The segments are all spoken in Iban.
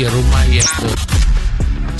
Rumah iya tu.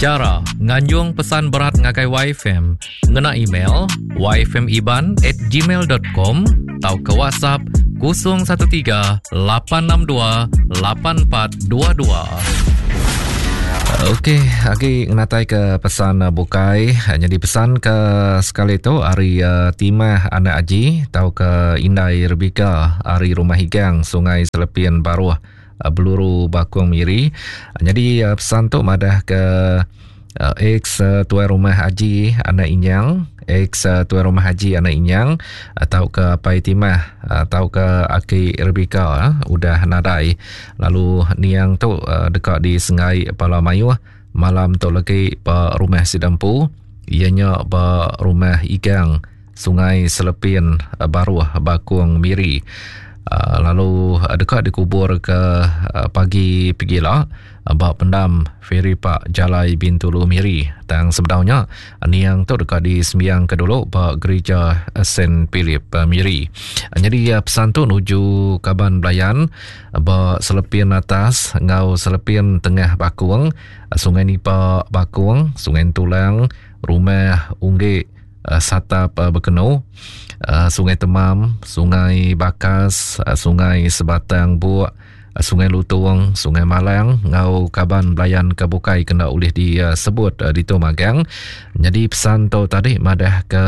Chara nganjung pesan berat ngagai YFM ngena email yfmiban@gmail.com tauka WhatsApp 013 862 8422. Okey, agi ngenatai ke pesan bukai. Jadi pesan ke sekali tu ari uh, Timah Anak Aji tauka Indai Rebika ari Rumah Higang Sungai Selepin Baruh. Beluru Bakung Miri. Nyadi pesan tu madah ke ex tuai rumah Aji anak Inyang, ex tuai rumah Aji anak Inyang tauka Apai Timah tauka Aki Rebecca udah nadai. Lalu niang tu deka disenggai bala mayuh malam tu legi ba rumah sida empu iya nya ba rumah Igang Sungai Selepin Baruh Bakung Miri lalu deka dikubur ke pagi pegila ba pendam Feri Pak Jalai Bintulu Miri. Tang sebedau nya niang tu deka disembiangka dulu ba Gerija Saint Philip Miri. Nyadi pesan tu nuju kaban belayan ba Selepin Atas enggau Selepin Tengah Bakung, Sungai Nipa Bakung, Sungai Entulang, Rumah Unggik Satap Bekenu, Sungai Temam, Sungai Bakas, Sungai Sebatang Buk, Sungai Lutung, Sungai Malang enggau kaban belayan ke bukai kena ulih disebut ditu magang. Nyadi pesan tu tadi madah ke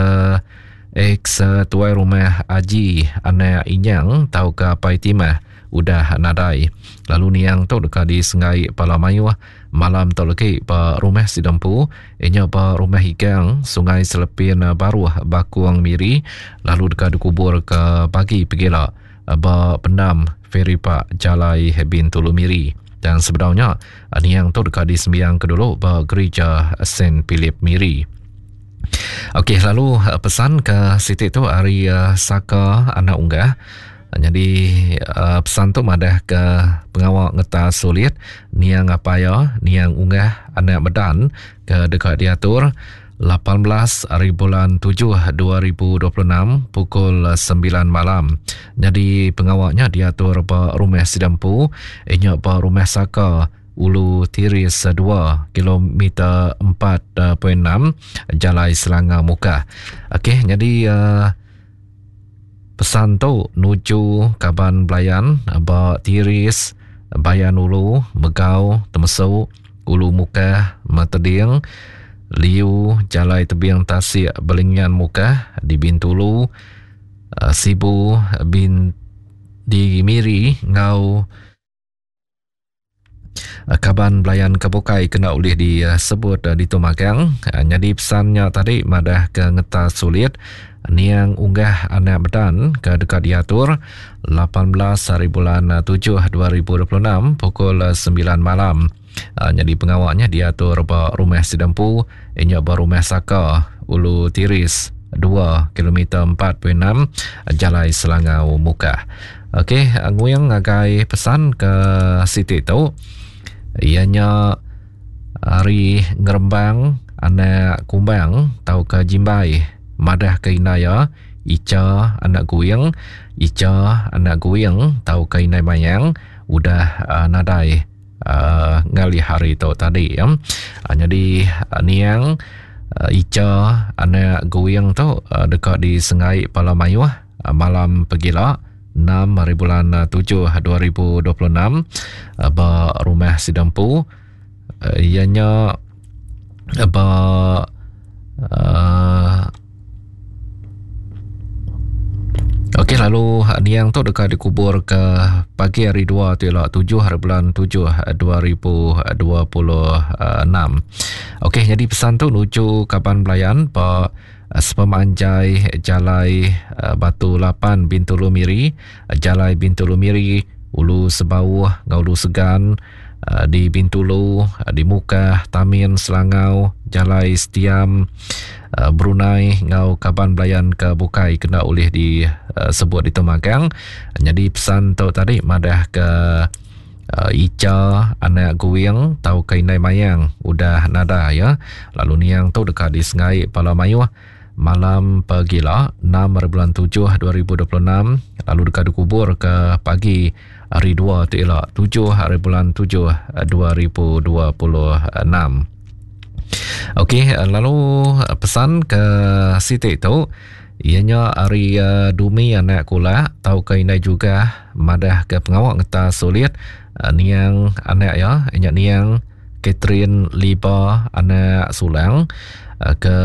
ex tuai rumah Aji anak Inyang tauka Apai Timah udah nadai. Lalu niang tu deka disenggai pala mayuh Malam tu legi ba rumah sida empu iya nya ba Rumah Igang, Sungai Selepin Baruh, Bakong Miri lalu deka dikubur ke pagi pegila ba pendam Feri Pak Jalai Bintulu Miri. Tang sebedau nya, niang tu deka disembiangka dulu ba Gerija Saint Philip Miri. Okey lalu pesan ke siti tu ari Saka Anak Unggah. Nyadi pesan tu madah ke pengawa ngetas sulit niang apai iya niang Unggah Anak Medan ke deka diatur 18 hari bulan 7 2026 pukul 9 malam. Nyadi pengawa nya diatur ba rumah sida empu inya ba rumah Saka Ulu Tiris 2 kilometer 4.6 Jalai Selangau Mukah. Okey nyadi uh, Pesan tu nuju kaban belayan ba Tiris, Bayan Ulu, Megau, Temesu, Ulu Mukah, Mateding, Liu, Jalai Tebing Tasik Belingian Mukah di Bintulu, Sibu, Bin di Miri enggau Kaban belayan ke bukai kena ulih disebut ditu magang. Nyadi pesan nya tadi madah ke ngetas sulit niang unggah anak Medan ke deka diatur 18 hari bulan 7 2026 pukul 9 malam. Nyadi pengawa nya diatur ba Rumah Sidempu inya ba Rumah Saka Ulu Tiris 2 kilometer 4.6 Jalai Selangau Mukah. Okey, nguing ngagai pesan ke siti tu. Iya nya ari ngerembang anak kumbang tauka jimbai madah ke indai iya Icha anak Guing, Icha anak Guing tauka indai Mayang udah uh, nadai uh, ngalih hari tu tadi ya. Uh, nyadi uh, niang uh, Icha anak Guing tu uh, deka disengai pala mayuh malam pegila 6 hari bulan 7 2026 ba rumah sida empu iya nya ba uh, Okey lalu niang tu deka dikubur ke pagi hari 2 tu ila 7 hari bulan 7 2026. Okey jadi pesan tu nuju kaban belayan ba Sepemanjai Jalai Batu Lapan Bintulu Miri, Jalai Bintulu Miri, Ulu Sebauh enggau Ulu Segan di Bintulu, di Mukah, Tamin, Selangau, Jalai Setiam, Brunei enggau kaban belayan ke bukai kena ulih disebut ditu magang. Nyadi pesan tu tadi madah ke Icha anak Guing tauka indai Mayang udah nadai ya. Lalu niang tu deka disengai pala mayuh malam pegila 6 hari bulan 7 2026 lalu deka dikubur ke pagi. Hari dua tu ila 7 hari bulan 7 2026. Okey, lalu pesan ke siti tu ianya ari uh, Dumi anak kulak tauka indai juga madah ke pengawa ngetas sulit uh, niang anak ya inya niang Catherine Liba anak Sulang uh, ke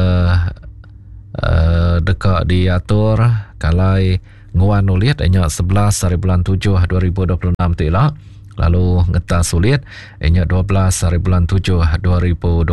uh, deka diatur kalai Nguan ulit inya 11 hari bulan 7 2026 tu ila lalu ngetas ulit inya 12 hari bulan 7 2026.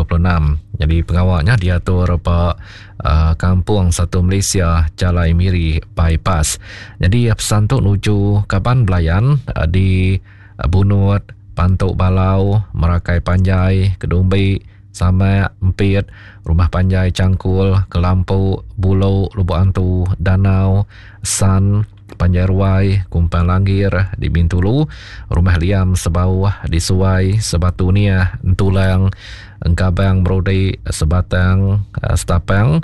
Jadi pengawanya diatur ba uh, Kampung Satu Malaysia Jalai Miri Bypass. Jadi pesan tu nuju kaban belayan uh, di Bunut, Pantu Balau, Merakai Panjai, Kedumbi, Samak, Empit, Rumah Panjai Changkul, Kelampu, Bulo, Lubok Antu, Danau, San, Panjai Ruai, Kumpang Langgir di Bintulu, Rumah Liam Sebauh di Suai, Sebatu Niah, Entulang, Engkabang Merudi, Sebatang, Setapang,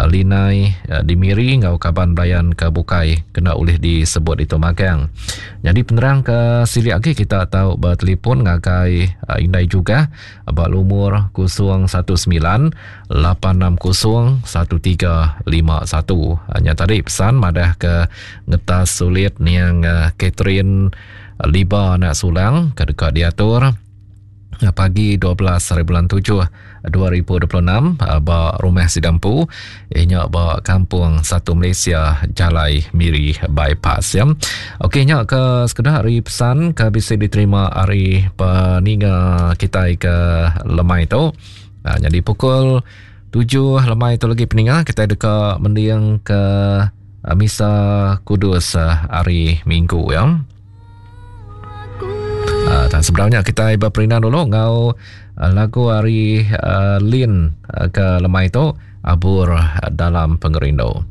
Linai di Miri enggau kaban belayan ke bukai kena ulih disebut ditu magang. Nyadi penerang ke silik agi kita tau betelefon ngagai Indai Jugah ba lumur 019 860 1351. Nya tadi pesan madah ke ngetas sulit niang Catherine Liba anak Sulang ke deka diatur pagi 12 hari bulan 7 2026 ba rumah sida empu inya ba kampung Satu Malaysia Jalai Miri Bypass ya. Okey nya ke sekeda hari pesan ke bisi diterima hari peninga kitai ke lemai tu. Ha, jadi pukul 7 lemai tu lagi peninga kita deka mending ke misa kudus hari Minggu ya. Uh, dan sebenarnya kita berperindang dulu ngau uh, lagu hari uh, Lin uh, ke lemai tu abur dalam pengerindu.